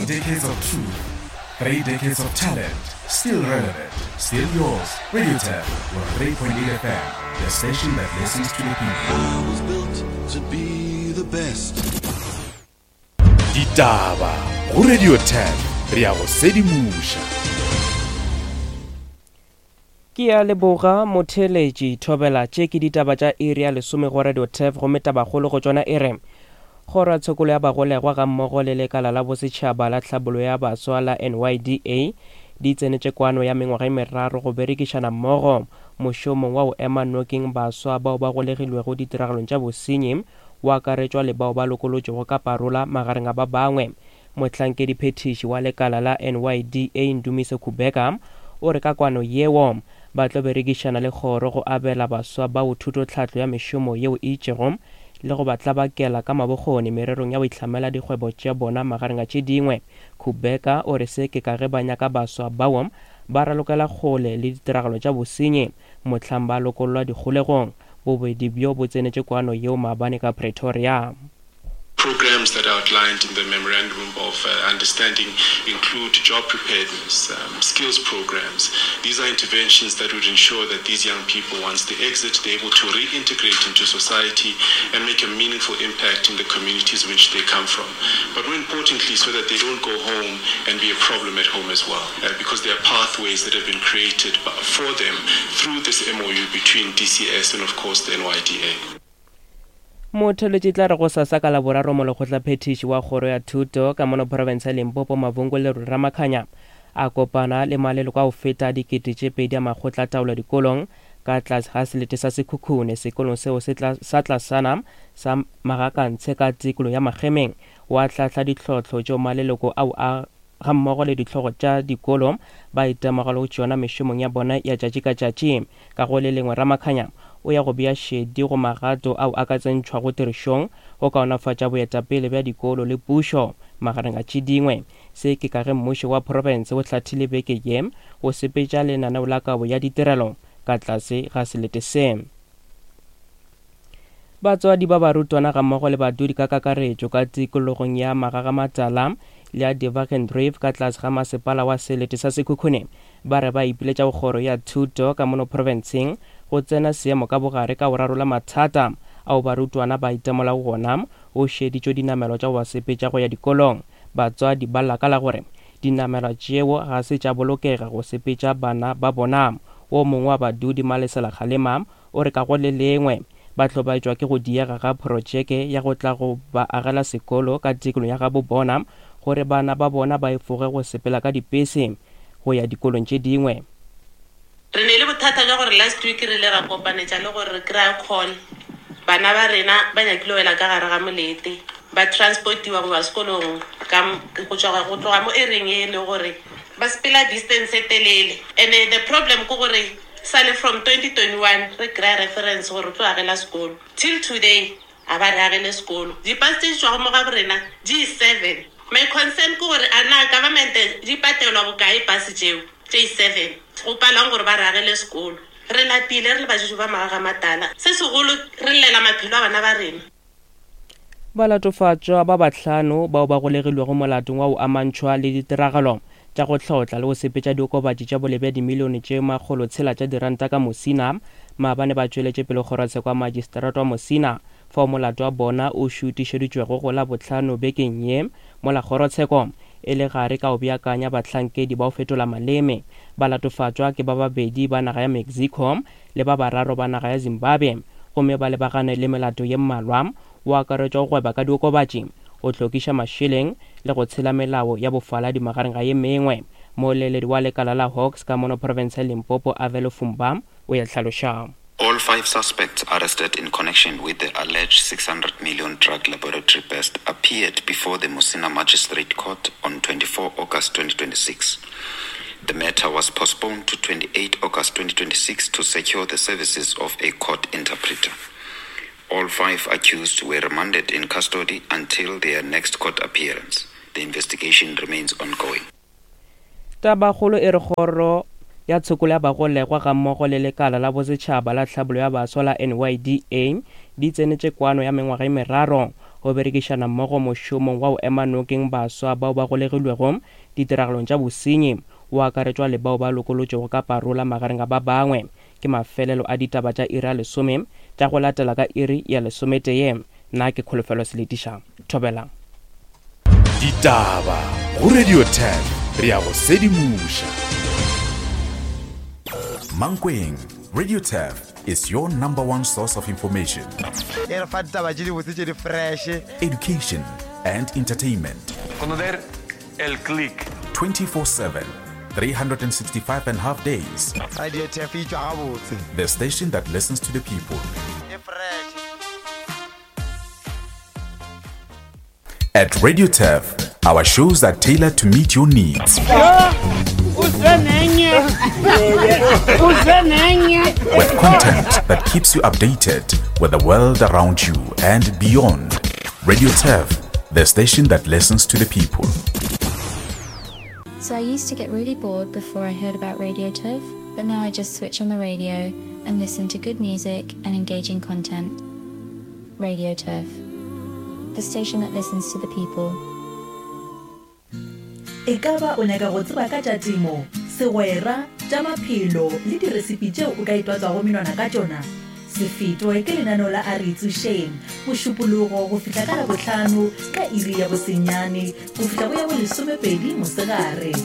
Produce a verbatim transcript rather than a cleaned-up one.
decades of truth, three decades of talent, still relevant, still yours. Radio Turf, one three point eight F M, the station that listens to the people. I was built to be the best. Ditaba go Radio Turf, re ya go sedimoša. Ke a leboga motheletši Thobela. Tše ke ditaba tša iri ya lesome go Radio Turf, gomme tabakgolo go tšona e re kgoro ya tshokolo ya bagolegwa ga mmogo le lekala la bosetšhaba la tlhabollo ya baswa la N Y D A di tsenetše kwano ya mengwaga e meraro go berekišana mmogo mošomong wa go ema nokeng baswa bao ba golegilwego ditiragalong tša bosenyi, o akaretšwa le bao ba lokolotšwego ka parola magareng a ba bangwe. Mohlankedi phethiši wa lekala la N Y D A Ndumiso Kubheka o re ka kwano yeo ba tlo berekišana le kgoro go abela baswa bao thutotlhahlo ya mešomo yeo e itšego le go ba tlabakela ka mabokgoni mererong ya go itlhamela dikgwebo tša bona magareng a tše dingwe. Kubheka o re se ke ka ge ba nyaka baswa bao ba ralokela kgole le ditiragalo tša bosenyi mohlang ba lokollwa dikgolegong. Bobedi bjo bo tsenetše kwano yeo maabane ka Pretoria. Programs that are outlined in the Memorandum of, uh, Understanding include job preparedness, um, skills programs. These are interventions that would ensure that these young people, once they exit, they're able to reintegrate into society and make a meaningful impact in the communities in which they come from. But more importantly, so that they don't go home and be a problem at home as well, uh, because there are pathways that have been created for them through this M O U between D C S and, of course, the N Y D A. Motheletši tla re go sasa ka laboraro molekgotlaphethiši wa kgoro ya thuto ka mono province ya Limpopo Mavhungu Lerule Ramakhanya a kopana le maleloko a go feta dikete tše pedi a makgotla taolo dikolong ka tlase ga selete sa Sekhukhune sekolong seo se tla, sa tlasana sa Magakantshe ka tikolo ya Makgemeng. Wa hlahla ditlhohlo tšeo maleloko ao a ga mmogo le ditlhogo tša dikolo ba itemogela go tšona mešomong ya bona ya tšatši ka tšatši. Ka go le lengwe Ramakhanya o ya go bea šedi go magato ao a ka tsentšhwago tirišong go kaonafatša boetapele bja dikolo le pušo magareng a tše dingwe. Se ke ka ge mmušo wa profense o hlathile beke ye go sepetša lenaneo la kabo ya ditirelo ka tlase ga selete se. Batswadi ba barutwana ga mmogo le badudi ka kakaretšo ka tikologong ya Magagamatala le ya Devagen Drive ka tlase ga masepala wa selete sa Sekhukhune ba re ba ipiletša go kgoro ya thuto ka mono profenseng go tsena seemo ka bogare ka go rarolla mathata ao barutwana ba itemolago gona go šeditšwe dinamelwa tša go ba sepetša go ya dikolong. Batswadi ba lakala gore dinamelwa tšeo ga se tša bolokega go sepetša bana ba bona. O mongwe wa badudi Malesela Kgalema o re ka go le lengwe ba hlobaetšwa ke go diega ga projeke ya go tla go ba agela sekolo ka tikolo ya gabo bona gore bana ba bona ba efoge go sepela ka dipese go ya dikolong tše dingwe. Re ne le bothata jwa gore last week re ile ra kopanetša le gore re kry-a call, bana ba rena ba nyakile wela ka gare ga molete, ba transportiwa go ba sekolong ka m-, go tšwa, go tloga mo area e le gore ba sepela distance e telele. And the problem ke gore sale from twenty twenty-one re kry-a reference gore re tlo agela sekolo, till today a ba re agele sekolo. Dipase tse di tšwago mo ga bo rena di seven. My concern ke gore a na government di patelwa bokae pase tšeo tše seven go palang gore ba re agele sekolo. Re lapile re le badudi ba Magagamatala, se segolo re llela maphelo a bana ba rena. Balatofatšwa ba bahlano bao ba golegilwego molatong wa go amantšhwa le ditiragalo tša go hlotla le go sepetša diokobatši tša boleng bja dimilione tše makgolo tshela tša diranta ka Musina maabane ba tšweletše pele kgorotsheko ya magistrata wa Musina fao molato wa bona o šutišeditšwego go la bohlano bekeng ye mola kgorotsheko e le gare ka go beakanya bahlankedi ba go fetola maleme. Balatofatšwa ke ba babedi ba naga ya Mexico le ba bararo ba naga ya Zimbabwe, gomme ba lebagane le melato ye mmalwa o akaretšwa go gweba ka diokobatši, go hlokiša mašeleng le go tshela melao ya bofaladi magareng ga ye mengwe. Moeleledi wa lekala la Hawks ka mono province ya Limpopo Avelo Fumba o ya hlaloša. All five suspects arrested in connection with the alleged six hundred million drug laboratory burst appeared before the Musina Magistrate Court on twenty-four August twenty twenty-six. The matter was postponed to twenty-eight August twenty twenty-six to secure the services of a court interpreter. All five accused were remanded in custody until their next court appearance. The investigation remains ongoing. Tabakgolo e re kgoro ya tshokolo ya bagolegwa ga mmogo le lekala la bosetšhaba la tlhabollo ya baswa la N Y D A di tsenetše kwano ya mengwaga e meraro Go berekišana mmogo mošomong wa go ema nokeng baswa bao ba golegilwego ditiragalong tša bosenyi, o akaretšwa le bao ba lokolotšwego ka parola magareng a ba bangwe. Ke mafelelo a ditaba tša iri ya lesome tša go latela ka iri ya lesometee. Nna ke Kholofelo Seletiša. Thobela. Ditaba go Radio ten re ya go sedimoša. Mankweng, Radio Turf is your number one source of information, E re fa ditaba tše dibotse tše di fresh. education, and entertainment. Conocer el click. twenty-four seven, three hundred sixty-five and a half days. Radio Turf e tšwa gabotse. The station that listens to the people. E fresh. At Radio Turf, our shows are tailored to meet your needs. With content that keeps you updated with the world around you and beyond. Radio Turf, the station that listens to the people. So I used to get really bored before I heard about Radio Turf, but now I just switch on the radio and listen to good music and engaging content. Radio Turf, the station that listens to the people. E ka ba o nyaka go tseba ka tša temo, segwera, tša maphelo le diresipi tšeo o ka itwatsago menwana ka tšona? Se fetwe ke lenaneo la A Re Itsošeng, Mošupologo go fihla ka Labohlano ka iri ya bosenyane go fihla go ya bolesomepedi mosegare.